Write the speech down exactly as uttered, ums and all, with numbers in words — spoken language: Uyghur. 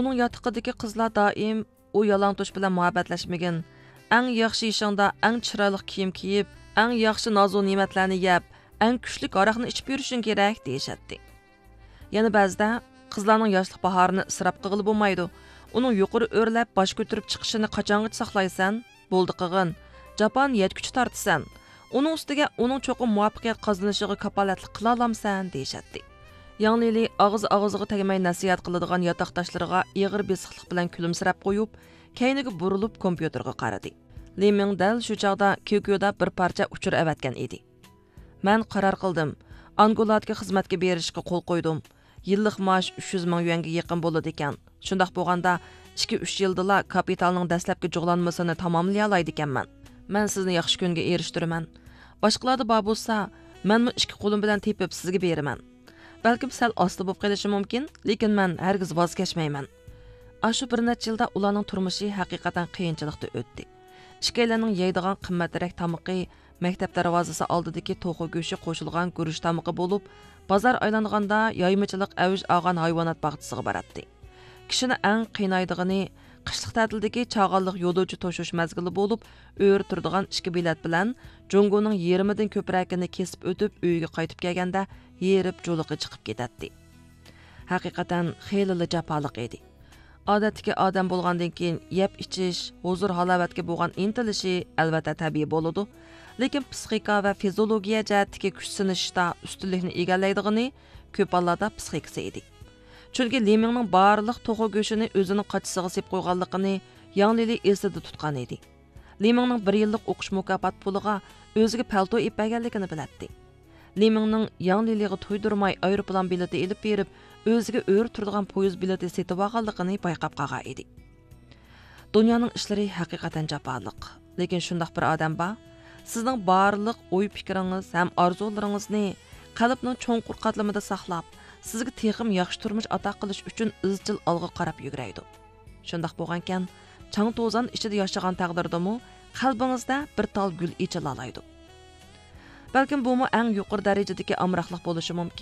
ئۇنىڭ ياتىقىدىكى قىزلار دائىم، ئۇ يالاڭتوش بىلەن مۇھەببەتلەشمىگىن، ئەڭ ياخشى ئېشىڭدا ئەڭ چىرايلىق كىيىم كىيىپ، ئەڭ ياخشى نازۇ نېمەتلەرنى يەپ، ئەڭ كۈچلۈك ھاراقنى ئىچىپ يۈرۈشۈڭ كېرەك، دېيىشەتتى. يەنە بەزىدە، قىزلارنىڭ ياشلىق باھارىنى ئىسراپ قىلغىلى بولمايدۇ. ئۇنىڭ يۇقىرى ئۆرلەپ، باش كۆتۈرۈپ چىقىشىنى قاچانغىچە ساقلايسەن؟ بولدى قىلغىن، جاپانى يەتكۈچە تارتىسەن. ئۇنىڭ ئۈستىگە ئۇنىڭ چوقۇم مۇۋەپپەقىيەت قازىنىشىغا كاپالەتلىك قىلالامسەن؟ دېيىشەتتى. ياڭ لىلى ئاغزى ئاغزىغا تەگمەي نەسىھەت قىلىدىغان ياتاقداشلىرىغا ئېغىر بېسىقلىق بىلەن كۈلۈمسىرەپ قويۇپ، كەينىگە بۇرۇلۇپ كومپيۇتېرغا قارىدى. لى مىڭ دەل شۇ چاغدا كيۇكيۇدا بىر پارچە ئۇچۇر ئەۋەتكەن ئىدى. مەن قارار قىلدىم. ئانگولادىكى خىزمەتكە بېرىشقا قول قويدۇم. يىللىق مائاش ئۈچ يۈز مىڭ يۈەنگە يېقىن بولىدىكەن. شۇنداق بولغاندا، ئىككى-ئۈچ يىلدىلا كاپىتالنىڭ دەسلەپكى جۇغلانمىسىنى تاماملىيالايدىكەنمەن. مەن سىزنى ياخشى كۈنگە ئېرىشتۈرىمەن. باشقىلاردا بار بولسا، مەنمۇ ئىككى قولۇم بىلەن تېپىپ سىزگە بېرىمەن. بەلكىم سەل ئاستا بولۇپ قېلىشى مۇمكىن، لېكىن مەن ھەرگىز ۋاز كەچمەيمەن. ئاشۇ بىر نەچچە يىلدا ئۇلارنىڭ تۇرمۇشى ھەقىقەتەن قىيىنچىلىقتا ئۆتتى. ئىككىيلەننىڭ يەيدىغان قىممەترەك تامىقى مەكتەپ دەرۋازىسى ئالدىدىكى توخۇ گۆشى قوشۇلغان گۈرۈچ تامىقى بولۇپ، بازار ئايلانغاندا يايمىچىلىق ئەۋج ئالغان ھايۋانات باغچىسىغا باراتتى. كىشىنى ئەڭ قىينايدىغىنى، قىشلىق تەتىلدىكى چاغانلىق يولۇچى توشۇش مەزگىلى بولۇپ، ئۆرە تۇرىدىغان ئىككى بېلەت بىلەن جۇڭگونىڭ يېرىمىدىن كۆپرەكىنى كېسىپ ئۆتۈپ، ئۆيىگە قايتىپ كەلگەندە، ھېرىپ جۇلۇقى چىقىپ كېتەتتى. ھەقىقەتەن خېلىلا جاپالىق ئىدى. ئادەتتىكى ئادەم بولغاندىن كېيىن يەپ ئىچىش، ھۇزۇر ھالاۋەتكە بولغان ئىنتىلىشى ئەلۋەتتە تەبىئىي بولىدۇ. لېكىن پسىخىكا ۋە فىزىولوگىيە جەھەتتىكى كۈچ سىنىشىشتا ئۈستۈنلۈكنى ئىگىلەيدىغىنى كۆپ ھاللاردا پسىخىكىسى ئىدى. چۈنكى لى مىڭنىڭ بارلىق توخۇ گۆشىنى ئۆزىنىڭ قاچىسىغا سېلىپ قويغانلىقىنى ياڭ لىلى ئېسىدە تۇتقان ئىدى. لى مىڭنىڭ بىر يىللىق ئوقۇش مۇكاپات پۇلىغا ئۆزىگە پەلتو ئېلىپ بەرگەنلىكىنى بىلەتتى. لى مىڭنىڭ ياڭ لىلىغا تۇيدۇرماي ئايروپىلان بېلىتى ئېلىپ بېرىپ، ئۆزىگە ئۆرە تۇرىدىغان پويىز بېلىتى سېتىۋالغانلىقىنى بايقاپ قالغان ئىدى. دۇنيانىڭ ئىشلىرى ھەقىقەتەن جاپالىق. لېكىن شۇنداق بىر ئادەم بار، سىزنىڭ بارلىق ئوي-پىكرىڭىز ھەم ئارزۇلىرىڭىزنى قەلبنىڭ چوڭقۇر قاتلىمىدا ساقلاپ، سىزگە تېخىمۇ ياخشى تۇرمۇش ئاتا قىلىش ئۈچۈن ئىزچىل ئالغا قاراپ يۈگۈرەيدۇ. شۇنداق بولغانىكەن، چاڭ-توزان ئىچىدە ياشىغان تەقدىردىمۇ، قەلبىڭىزدە بىر تال گۈل ئېچىلالايدۇ. بەلكىم بۇمۇ ئەڭ يۇقىرى دەرىجىدىكى ئامراقلىق بولۇشى مۇمكىن.